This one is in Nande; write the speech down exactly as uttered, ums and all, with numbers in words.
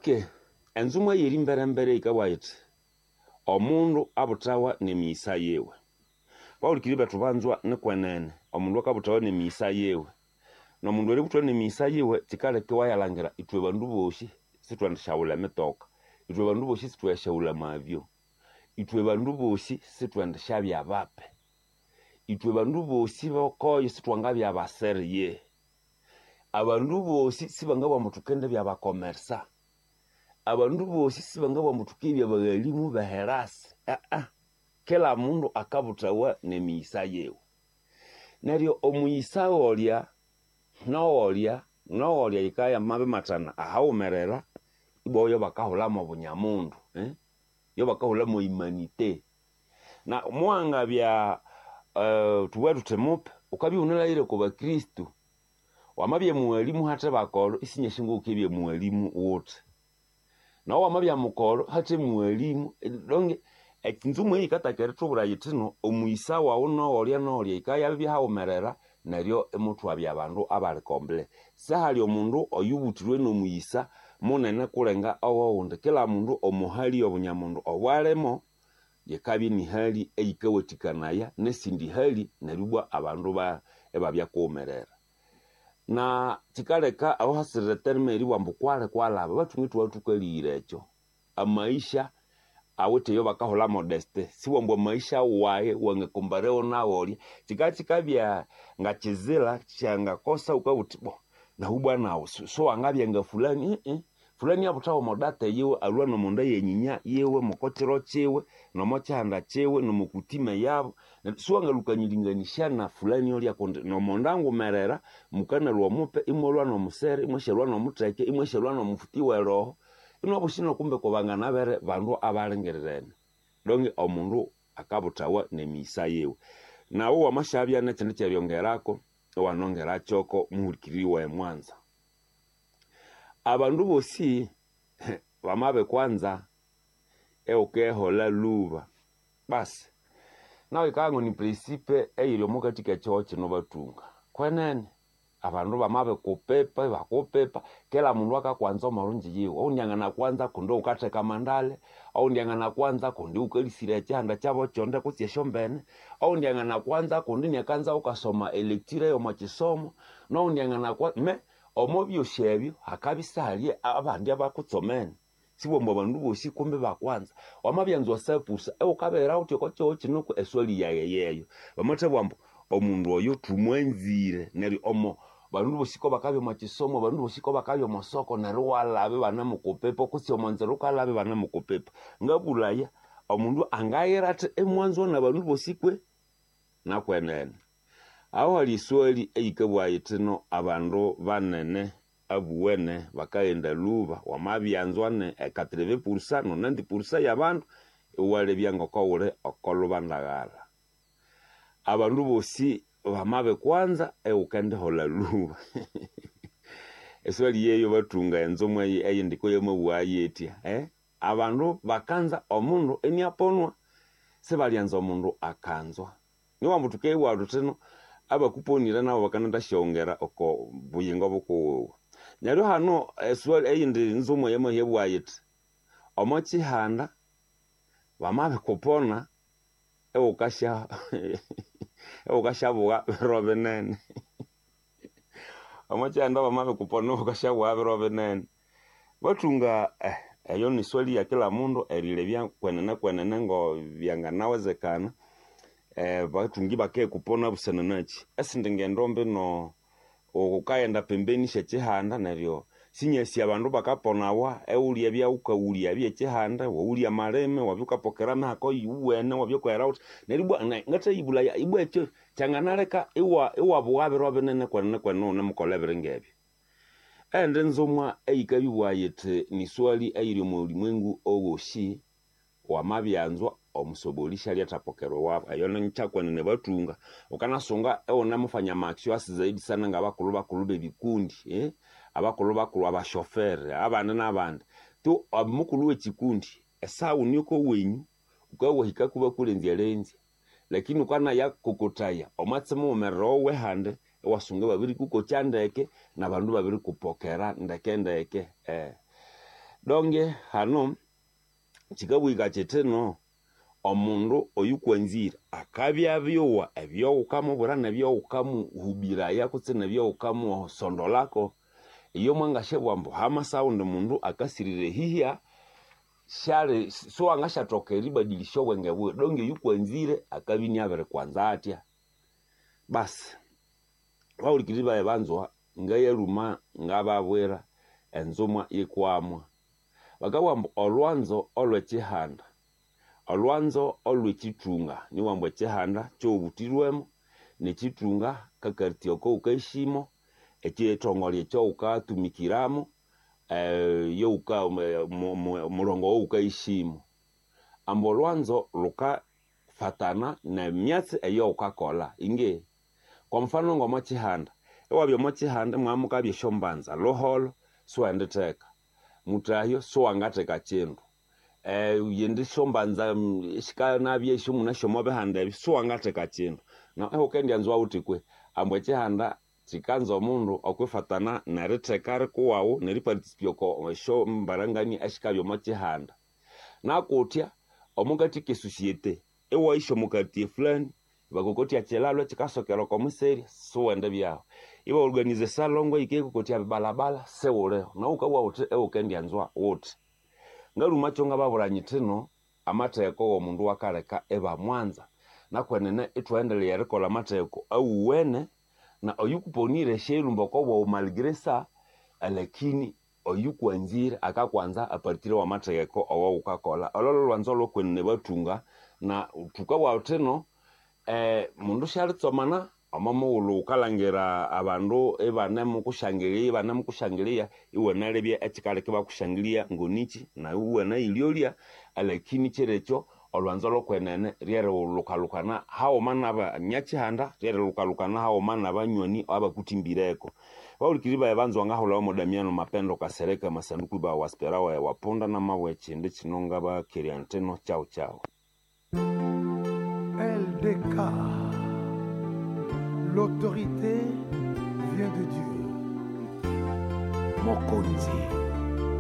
Okay, enzumwa eyiri mbere mbere yikabugha yithi omundu abuthawa nemiyisa yiwe. Bahulikiriri bethu banzwa, nikwenene omundu akabuthawa nemiyisa yiwe, nomundu eributhwa nemiyisa yiwe kyikaleka iwayalhangira ithwe bandu bosi sithwendisyaghulha emitoka, ithwe bandu bosi sithwendisyaghulha amavyo, ithwe bandu bosi sithwendisyabya bape, ithwe bandu bosi bokoyo sithwangabya basere yehe, abandu bosi sibangabugha ambu thukendibya bakomersa, abandu bosi sibangabugha ambu thukendibya baghalimu beherasi, aa kila mundu akabuthawa nemiyisa yiwe. Neryo omuyisa wolya nowolya nowolya yikabya yamabimathana ahaghumerera ibwa oyo bakahulhamu obunyamundu eh? Yo bakahulhamu humanité. Na muwangabya uh, tubughe thuthi mupe wukabya iwunalhaghire okwa bakristo, wamabya mughalimu hathe bakolo isinyasi ngokukebya mughalimu wuthi, nawe wamabya mukolo hathe mughalimu donge enzumu eyi yikataka erithubwira yithino omuyisa wawu nowolya nowolya yikabya yabibya haghumerera neryo imuthwabya abandu abali komple. Sihali omundu oyubuthirwe nomuyisa munene kulenga owowundi, kila mundu omuhali yobunyamundu obwalimo yikabya inihali eyikawathikanaya nesindi hali neryo ibwa abandu ibabya kughumerera. Na kyikaleka aho hasirire terme eribugha ambu kwali kwalaba, bathunga ithwabya thukalighira ekyo. Amaisha awithe eyo bakahulha modesty, sibwambu amaisha wayi wangakombarewo nawolya, kyikabya kyikabya ngakyizira kyangakosa wukabugha wuthi bo nawu bwa nawu siwangabya nga fulani ii fulani abuthawa omo date yiwe, alhwa nomonda yenyinya yiwe moko kiro kiwe nomo kihanda kiwe nomo kutime yabo, neryo siwangalhukanyiringanisya na fulani olya kundi nomonda nghumerera mukanalhwa omupe imwalhwa nomusere imwasyalhwa nomutheke imwasyalhwa nomufuti weroho, inwabusi kumbe kubanganabere bandu abalingirirene. Donge omundu akabuthawa nemiyisa yiwe. Nawu wamasyabya nekyindi kyeryongerako iwanongerakyoko muhulikiriri wayi mwanza. Abandu bosi bamabikwanza iwukiholha lhuba basi nawu yikabya ngoni principe eyiri omokathi kekyihugho kino bathunga. Kwenene abandu bamabikupipa ibakupipa kila mundu akakwanza omolhungyi yiwe, owundi anganakwanza kundi wukatheka amandale, owundi anganakwanza kundi wukalisiraya ekyihanda kyabo kyonde kutse esyombene, owundi anganakwanza kundi iniakanza wukasoma electure yomo kyisomo, nowundi anganakwanza me omo byosi ebyo hakabya isihali abandi abakutsomene, sibwambu abandu bosi kumbi bakwanza. Wamabyanza wasapusa iwukabihira wuthi oko kyihugho kino eswali yayi yeyo, bamathabugha ambu omundu oyo thumwanzire neryo omo bandu bosi kobakabya omo kyisomo, abandu bosi kobakabya omo soko neryo iwalaba ibanamukupipa kutse omonzira wukalaba ibanamukupipa. Ngabulhaya omundu angayira athi imwanzwa nabandu bosi kwe? Nakwenene. Aho hali eswali eyikabugha yithino abandu banene abuwene bakaghenda lhuba, wamabyanzwa ne quatre-vingts pourcent nonante pourcent yabandu iwalebya ngoko wuli okolubandagala. Abandu bosi bamabikwanza iwukendiholha lhuba. Eswali yeyo bathunga enzumu eyindi koyamabugha yithya eh? Abandu bakanza omundu iniaponwa, sibalyanza omundu akanzwa. Niwambu thukebugha thuthino abakuponire nabo bakanendasyaghongera oko buyingo bukuwiwe. Neryo hano eswali eyindi nzumu eyamahya yithi omo kyihanda bamabikupona iwukasya iwukasyabugha biro binene. Omo kyihanda bamabikupona iwukasyabugha biro binene. Bathunga eh, eyo ni swali ya kila mundu erilebya kwenene kwenene ngo byanganawezekana eh, bathungi bakekupona busana nakyi. Esindi ngendo mbino wukaghenda pembeni syekyihanda neryo sinyasi abandu bakaponawa iwulya ebyawukawulya byekyihanda, wawulya amalime, wabya wukapokera amahako yuwene, wabya wukaghera wuthi neryo ibwa ngathayibulaya ibwa ekyo kyanganaleka iwa iwabugha biro binene kwenene kwenene iwunemukolha ebiri ngebyo. Eyindi nzumwa eyikabibugha yithi ni swali eyiri omo bulimwengu owosi, wamabyanzwa omusoboli syalyathapokera ewabu, eyo nikyakwenene bathunga. Wukanasunga iwunemufanya ama action asi zaidi sana ngabakulhu bakulhu bebikundi eh? Abakulhu bakulhu abashofere abandi nabandi tu omukulhu wekyikundi esaha wune okowenyu wukabya wahikaku ibakulenzya lenzya, lakini wukanaya kokothaya omwatsi mughumerere owehandi iwasunga ibabirikukokya ndeke nabandu ibabirikupokera ndeke ndeke eh. Donge hano kikabwika kiti no omundu oyukwanzire akabya abyowa ebyowukamubwira nebyowukamuhubiraya kutse nebyowukamusondolako. Iyo mwangasyabugha ambu hamasa ghundi mundu akasirira ehihya, syali siwangasyathoka eribadilisya obwenge buwe donge oyukwanzire akabya inabirikwanza atya. Basi bahulikiriri bayi banzwa, ngayalhuma ngababwira enzumwa yikwamwa. Bakabugha ambu olhwanzo olhwekyihanda, olhwanzo olhwekyithunga, nibugha ambu ekyihanda kyowubutirwemo, nekyithunga kakartier oko wukayishimo, ekyithongole ekyawukatumikiramo, yowuka omulongo owawukayishimo. Ambu olhwanzo lukafatana nemyatsi eyawukakolha. Inge kwa mfano ngomwakyihanda, iwabya omwakyihanda imwamukabya esyombanza lhuholho siwenditheka, muthahyo siwangatheka kyindu, yindi syombanza sikanabya esyomunasyo omwabihanda ebyo siwangatheka kyindu. Na iwukendyanza ghuthi kwe ambu ekyihanda kyikanza omundu okwifatana neritheka rikuwaghu neriparticipate oko esyombarangania esikabya omwakyihanda. Nakuthya omukathi kesociete iwayisya omo quartier fulani ibakokotya ekyilalo ekyikasokera oko museri siwendibyahu, ibaorganiza esalongo eyikayakokotya ebibalabala siwuliho, nawu wukabugha ghuthi iwukendyanzwa ghuthi. Ngalhumakyo ngababwira nyithi no amatheko womundu akaleka ibamwanza, nakwenene ithwaghendelheya erikolha amatheko awuwene na oyukuponire syayilhumba okobwaghu malgré ça, alakini oyukwanzire akakwanza apartir wamatheko awawukakolha. Olho lholhwanzo olhokwenene bathunga na thukabugha thuthi mundu syalitsomana omo mughulhu wukalhangira abandu ibanemukusyangilya ibanemukusyangilya iwanalebya ekyikaleka ibakusyangilya ngonikyi nawu iwanayilyolya, alakini kyirekyo olhwanzo lhokwenene ryerilhukalhukana haghuma nabanyakyihanda, ryerilhukalhukana haghuma nabanywani abakuthimbireko. Bahulikiriri bayi banzwa ngahulhawa mo Damiano Mapendo Kasereka Masanduku ibawa waspera wayi wapunda namabugha ekyindi kyino ngabakerya ntino kyaghu kyaghu. L D K, l'autorité vient de Dieu. Mokonzi.